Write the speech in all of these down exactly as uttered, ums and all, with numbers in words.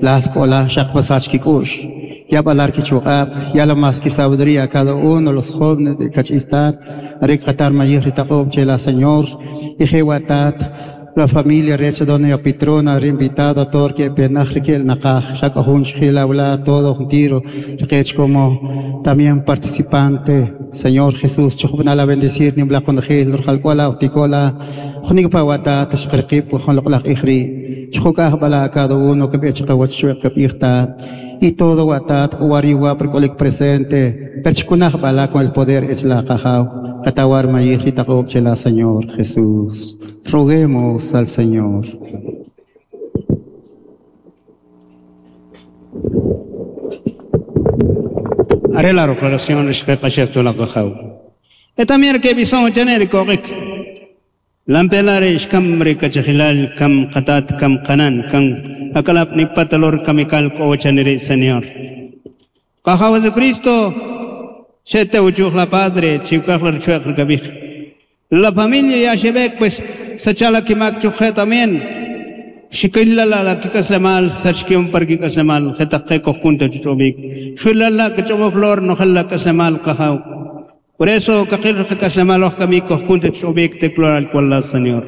Lal kola shaq pasach kikush. Ya balar kichuqab, ya la más que sabiduría cada uno los jóvenes de Cachiltat, Arik Qatar Mayir Taqob Chela Señor, y Jewatat, la familia Recha Doña Petrona, invitado todo que penaj que el nakaj, Shakahun Shila todo un tiro, Rech como también participante, Señor Jesús, Chukubnala bendecir, Nimbla con Gil, Rujalcuala, Uticola, Junikpawata, Tashqirqip, Juan Ijri, Chukaj Bala cada uno que y todo watat wariwa perkolik presente perchikunaj bala con el poder es la qajau katawar mayij taqob chela Señor Jesús. Roguemos al Señor. Haré la declaración respecto a la qajau. Etamir que bison genérico rik. Lampelare ishkamri kachilal kam qatat kam qanan kam akalap nipatalor kamikal kochanere Señor. Qajau Jesucristo chete uchuj la padre chiukajlar chuek kabij. La familia ya shebek pues sachala kimak chuje también. Shikillala la kikaslamal sachkium par kikaslamal xetaqe kojkunta chuchubik. Shuilala kachomoflor no jalla kaslamal qajau. Por eso, kakil kaslamal kami kojkunta chubik te al cual Señor.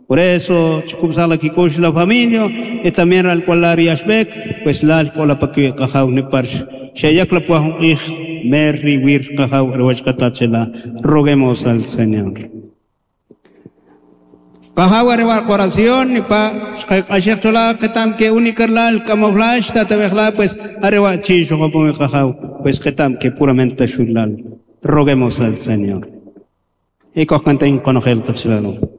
Por eso, chukubsala kikush la familia y también al cual yashbek, pues la al cual paki qajau ni parsh. Shayak la puajun ij merri wir qajau erwachqatachela. Roguemos al Señor. Qajau arewar oración ni pa shqaqashaqchola qitam que unikarlal camuflash tatabejla pues arewa chisho qajau pues qitam que puramente shulal. Roguemos al Señor. Y cojcanten conojel qachlalo.